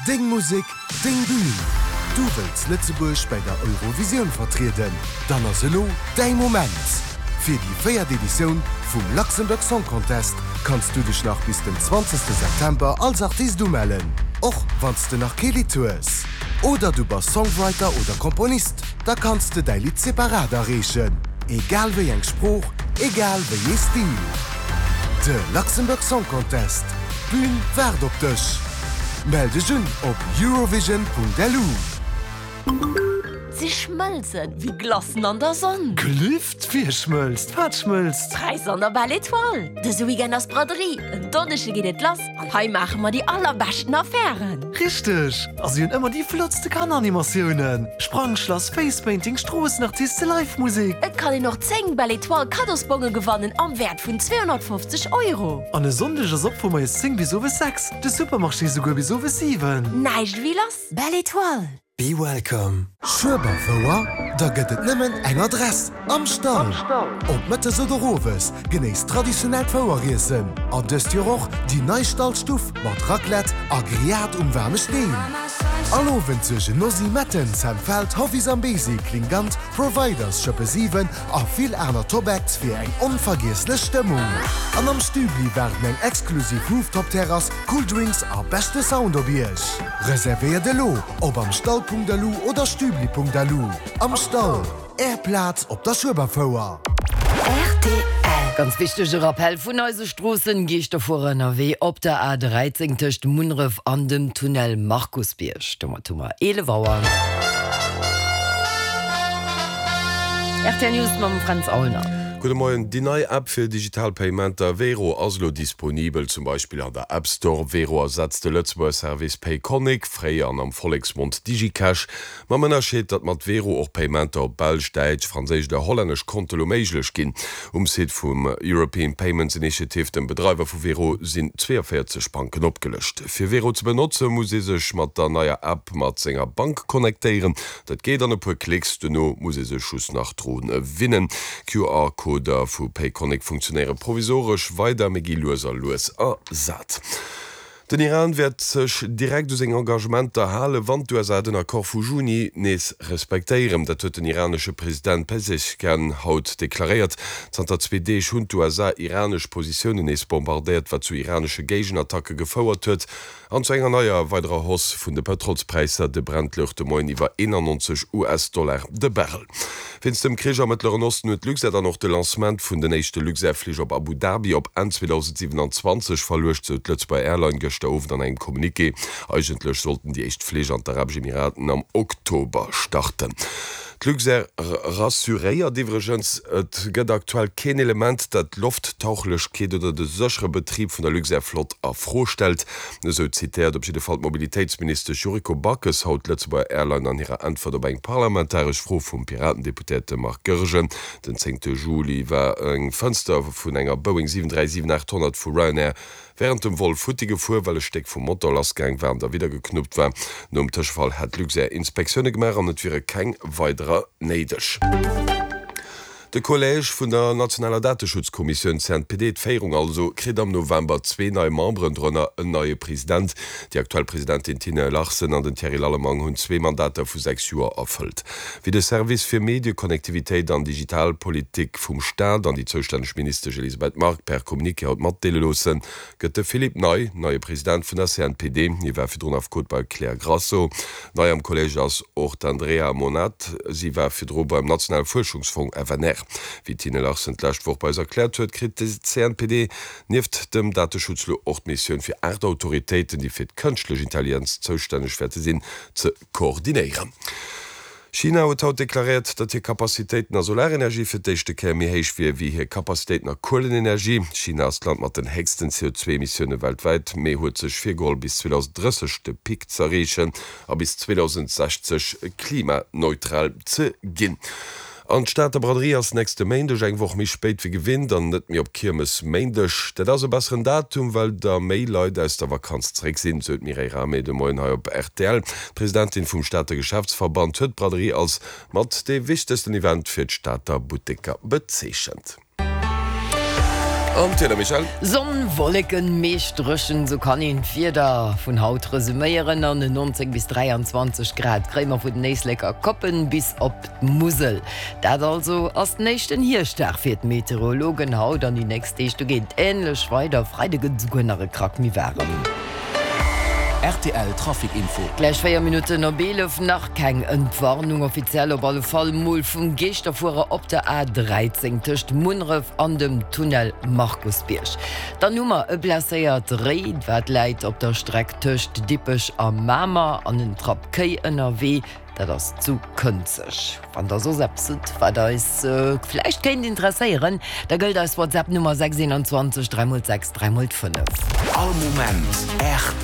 Deng Musek, deng Bühn! Du wëlls Lëtzebuerg bäi der Eurovisioun vertrieden? Dann ass elo däi Moment! Fir déi véiert Editioun vum Luxembourg Song Contest kanns du dech nach bis den 20 September als Artist umellen, och wann s de nach kee Lidd hues. Oder du bass Songwriter oder Komponist, da kanns de däi Lidd separat areechen, egal wéi eng Sprooch, egal wéi ee Stil. De Luxembourg Song Contest, d'Bün waart op dech! Mell dech un op eurovision.lu. Si schmëlzen wéi Glacen an der Sonn. Gelift? Wie schmëlzt? Wat schmëlzt? D'Präisser an der Belle Etoile! Dëse Weekend ass Braderie, en Donneschde geet et lass an hei maache mer déi allerbeschten Affären! Richteg! A si hunn ëmmer déi flottste Kanneranimatiounen, Sprangschlass, Facepainting, Stroossenartiste, Live Musek. Et kann een och 10 Belle Etoile Kaddosbonge gewannen am Wäert vun 250 Euro. An e Sonndeg ass op vu moies 10 bis owes 6, de Supermarché souguer bis owes 7. Näischt ewéi lass! Belle Etoile! Be welcome! Schueberfouer? Da gëtt et nëmmen eng Adress, Am Stall! Ob mëttes oder owes, genéisst traditionellt Foueriessen an dëst Joer och déi nei Stallstuff mat Raclette a Grillade um waarme Steen. All Owend suergen Nosy Metten, Sam Feldt, Hoffy Zambezi, Klingant, Providers, Schëppe 7 a vill aner Top-Acts fir eng onvergiesslech Stëmmung. An am Stübli waarden eng exklusiv Rooftop-Terrass, cool Drinks a beschte Sound op Iech. Reservéiert elo op amstall.lu oder stübli.lu. Am Stall, Är Plaz op der Schueberfouer. Rtl. Ganz wichtege Rappell vun eise Stroossen, Geeschterfuerer ënnerwee op der A 13 tëscht Munneref an dem Tunnel Markusbierg. Domat hu mer 11 Auer. Rtl News mam Fränz Aulner. Gudde Moien. Déi nei App fir digital Paymenter Wero ass elo disponibel, zum Beispill an der App Store. Wero ersetzt de Lëtzebuerger Service Payconiq, fréier an am Volleksmond Digicash, mam Ënnerscheed, datt mat Wero och Paymenter op belsch, däitsch, franséisch oder hollännesch Konte lo méiglech ginn. Um Site vum European Payments Initiative, dem Bedreiwer vu Wero, sinn 42 Banken opgelëscht. Fir Wero ze benotze muss ee sech mat der neier App mat senger Bank connectéieren. Dat geet an e puer Klicks, duerno muss ee sech just nach dru winnen. QR-Coder vu Payconiq funktionéiere provisoresch weider, mee gi lues a lues ersat. Den Iran wäert sech direkt u seng Engagementer halen, wann d'USA den Accord vu Juni nees respektéieren. Dat huet den iranesche President Pezeshkian haut deklaréiert. Zanter zwee Deeg hunn d'USA iranesch Positiounen nees bombardéiert, wat zu iranesche Géigenattacke gefouert huet. An zu enger neier weiderer Hausse vun de Pëtrolspräisser, de Brent louch de Moien iwwer 91 US-Dollar de Barrel. Wéinst dem Krich am Mëttleren Osten huet d'Luxair dann och de Lancement vun den éischte Luxair-Flich op Abu Dhabi op Enn 2027 verluecht, sou d'Lëtzebuerger Airline gëschter Owend an engem Communiqué. Eigentlech sollten déi éischt Flich an d'Arabesch Emiraten am Oktober starten. D'Luxair rassuréiert iwwregens, et gëtt aktuell keen Element, dat d'Lofttauchlechkeet oder de séchere Betrib vun der Luxair-Flott a Fro stellt. Esou zitéiert op jidde Fall d'Mobilitéitsministesch Yuriko Backes haut d'Lëtzebuerger Airline an hirer Äntwert op eng parlamentaresch Fro vum Piratendeputéierte Marc Goergen. Den zéngte Juli war eng Fënster vun enger Boeing 737-800 vu Ryanair wärend dem Vol futti gefuer, well e Stéck vum Motor lassgaang war an da widdergeknuppt war. Nom Tëschefall hätt Luxair Inspektioune gemaach an et wiere keng weiderer néideg. De Collège vun der nationaler Dateschutzkommissioun, CNPD, d'Féierung also, kritt am November zwee nei Memberen, dorënner en neie President. Déi aktuell Presidentin Tine Larsen an den Thierry Lallemang hunn zwee Mandater vu 6 Joer erfëllt. Wéi de Service fir Medieconnectivitéit an Digitalpolitik vum Staat an déi zoustänneg Ministesch Elisabeth Margue per Communiqué haut matdeele loossen, gëtt de Philippe Ney neie President vun der CNPD. Hie war virdrun Affekot bei Claire Grasso. Nei am Collège ass och d'Andrea Monat. Si war virdru beim nationale Fuerschungsfong FNR. Wéi d'Tine Larsen d'lescht Woch bei eis erkläert huet, kritt de CNPD nieft dem Dateschutz lo och d'Missioun fir 8 Autoritéiten, déi fir d'kënschtlech Intelligenz zoustänneg wäerte sinn, ze koordinéieren. China huet haut deklaréiert, datt hir Capacitéiten a Solarenergie fir d'éischte Kéier méi héich wier wéi hir Capacitéiten a Kuelenenergie. China ass d'Land mat den héchsten CO2-Emissioune weltwäit, mee huet sech virgeholl bis 2030 de Pic z'erreechen a bis 2060 klimaneutral ze ginn. An d'Stater Braderie ass nächste Méindeg, eng Woch méi spéit wéi gewinnt an net méi op Kiermesméindeg. Dat ass e besseren Datum, well da méi Leit aus der Vakanz zeréck sinn, sou d'Mireille Rahmé de Moien hei op rtl. D'Presidentin vum Stater Geschäftsverband huet d'Braderie als mat dee wichtegsten Event fir d'Stater Butteker bezeechent. An d'Wieder, Michèle? Sonn, Wolleken, meescht dréchen, sou kann een d'Wieder vun haut resuméieren. An 19 bis 23 Grad kréie mer vun den Éisleker Koppen bis op d'Musel. Dat also ass den éischten Hierschtdag fir d'Meteorologen haut an déi nächst Deeg. Do geet et änlech weider, Freide gëtt et esouguer nach e Krack méi waarem. Rtl Trafic Info. Gläich 4 Minutten op 11, nach keng Entwarnung offiziell, op alle Fall mol vum Geeschterfuerer op der A 13 tëscht Munneref an dem Tunnel Markusbierg. Dann hu mer e blesséiert Réi, wat läit op der Streck tëscht Dippech a Mamer an en Trapp Kéi ënnerwee. Dat ass zu Kënzeg. Wann der soss eppes hutt, wat eis vläicht kéint interesséieren, da gëllt eis WhatsApp-Nummer 6 21 3 x 6 3 x 5. All Moment rtl.